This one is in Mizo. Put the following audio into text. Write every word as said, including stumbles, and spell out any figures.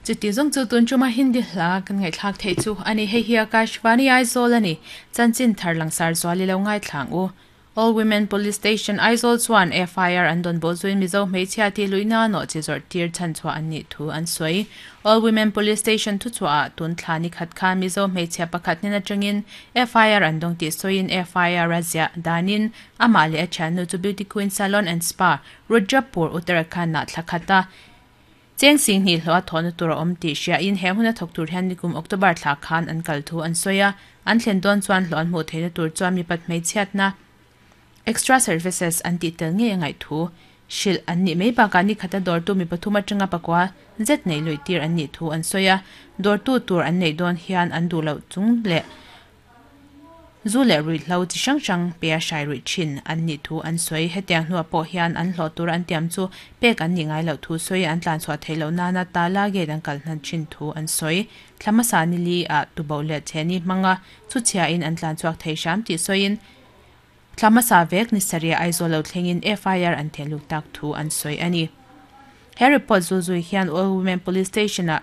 Chuti zawng chu tun tuma Hindi hla kan ngaihthlak theih chu ani. Hei hi Akashvani Aizawl ani. Chanchin thar langsar zuali lo ngaithlang u. All Women Police Station Aizawl chuan F I R an dawn bo zuin Mizo hmeichhia ti luina no chi zawrh tir chan chhuah an nih thu an sawi. All Women Police Station thu chhuah tun thla ni khat kha Mizo hmeichhia pakhat hnen atangin F I R an dawng tih sawiin F I R a ziah danin amah leh a thiannu chu Beauty Queen Salon and Spa Rudrapur Uttarakhand ah thla khata cheng sing hnih hlawh a thawhna tur a awm tih hriain he huna thawk tur hian nikum October thla khan an kal thu an sawi a. An thlen dawn chuan hlawh an hmuh theihna tur chuan mi pat hmeichhiatna extra services an tih tel ngei a ngaih thu hrilh an nih mai bakah ni khata dawrtu mi pathum atanga pakua zet nei lui tir an nih thu an sawi a. Dawrtu tur an neih dawn hian an duh loh chung leh zu leh ruihhlo chi hrang hrang pe a hrai ruih thin an nih thu an sawi. Hetiang hnuah pawh hian an hlawh tur an tiam chu pek an nih ngai loh thu sawi an tlan chhuah theih loh nana tala gate an kal hnan thin thu an sawi. Thlamasa ni li ah tubo leh chheni hmanga chu chhia in an tlan chhuak thei hram tih sawiin thlamasa vek ni saria Aizawl lo thlengin F I R an theluk tak thu an sawi ani. He report zu zui hian All Women Police Station ah